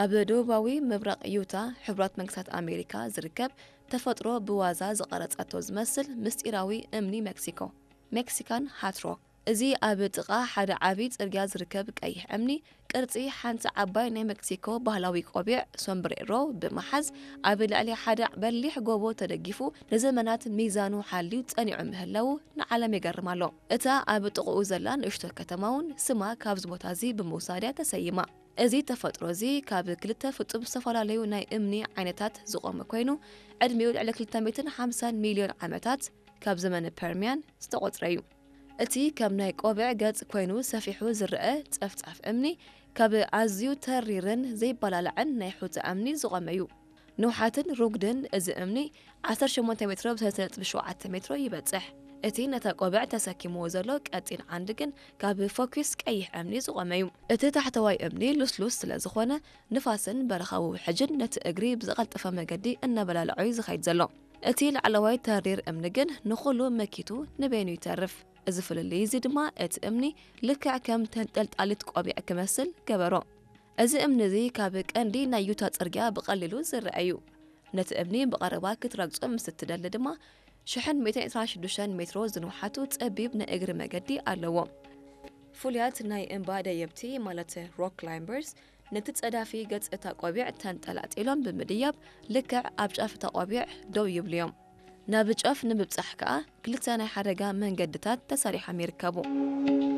ኣብ ደቡባዊ ምብራቕ ዩታ፣ ሕቡራት መንግስታት ኣሜሪካ ዝርከብ፣ ተፈጥሮ ብዋዛ ዝቐረጸቶ ዝመስል ምስጢራዊ እምኒ ሜክሲኮ፣ ሜክሲካን ሃት ሮክ። እዚ ኣብ ጥቓ ሓደ ዓቢ ጽርግያ ዝርከብ ቀይሕ እምኒ፣ ቅርጺ ሓንቲ ዓባይ ናይ ሜክሲኮ ባህላዊ ቆቢዕ፣ ሶምብሬሮ፣ ብምሓዝ፣ ኣብ ልዕሊ ሓደ በሊሕ ጎቦ ተደጊፉ፣ ንዘመናት ሚዛኑ ሓልዩ ጸኒዑ ምህላዉ ንዓለም የገርም ኣሎ። እታ ኣብ ጥቕኡ ዘላ ንእሽቶ ከተማ እውን ስማ ካብዚ ቦታ እዚ ብምውሳድ እያ ተሰይማ። እዚ ተፈጥሮ እዚ ካብ ክልተ ፍጹም ዝተፈላለዩ ናይ እምኒ ዓይነታት ዝቖመ ኮይኑ፣ ዕድሚኡ ልዕሊ ክልተ ሚእትን ሓምሳን ሚልዮን ዓመታት፣ ካብ ዘመነ ፐርሚያን ዝተቖጽረ እዩ። እቲ ከም ናይ ቆብዕ ገጽ ኮይኑ ሰፊሑ ዝረአ ጸፍጻፍ እምኒ፣ ካብ ኣዝዩ ተሪርን ዘይበላላዕን ናይ ሑጻ እምኒ ዝቖመ እዩ። ንውሓትን ሩጉድን እዚ እምኒ ዓሰርተ ሸሞንተ ሜትሮ ብ ሰለስተ ነጥቢ ሸውዓተ ሜትሮ ይበጽሕ። እቲ ነታ ቆብዕ ተሰኪምዎ ዘሎ ቀጢን ዓንዲ ግን ካብ ፎኪስ ቀይሕ እምኒ ዝቖመ እዩ። እቲ ታሕተዋይ እምኒ ልስሉስ ስለ ዝኾነ፣ ንፋስን በረኻዊ ውሕጅን ነቲ እግሪ ብዝቐልጠፈ መገዲ እናበላልዖ እዩ ዝኸይድ ዘሎ። እቲ ላዕለዋይ ተሪር እምኒ ግን ንኹሉ መኪቱ ንበይኑ ይተርፍ። እዚ ፍልልይ እዚ ድማ እቲ እምኒ ልክዕ ከም ተንጠልጣሊት ቆቢዕ ክመስል ገበሮ። እዚ እምኒ እዚ ካብ ቀንዲ ናይ ዩታ ጽርግያ ብቐሊሉ ዝረአ እዩ። ነቲ እምኒ ብቐረባ ክትረግጾ ምስ እትደሊ ድማ፣ ሽሕን ሚእትን ዕስራን ሽዱሽተን ሜትሮ ዝንውሓቱ ጸቢብ ናይ እግሪ መገዲ ኣለዎ። ፍሉያት ናይ እምባ ደየብቲ፣ ማለት ሮክ ክላይምበርስ፣ ነቲ ጸዳፊ ገጽ እታ ቆቢዕ ተንጠላጢሎም ብምድያብ፣ ልክዕ ኣብ ጫፍ እታ ቆቢዕ ደው ይብሉ እዮም። ናብ ጫፍ ንምብጻሕ ከኣ ክልተ ናይ ሓደጋ መንገድታት ተሰሪሖም ይርከቡ።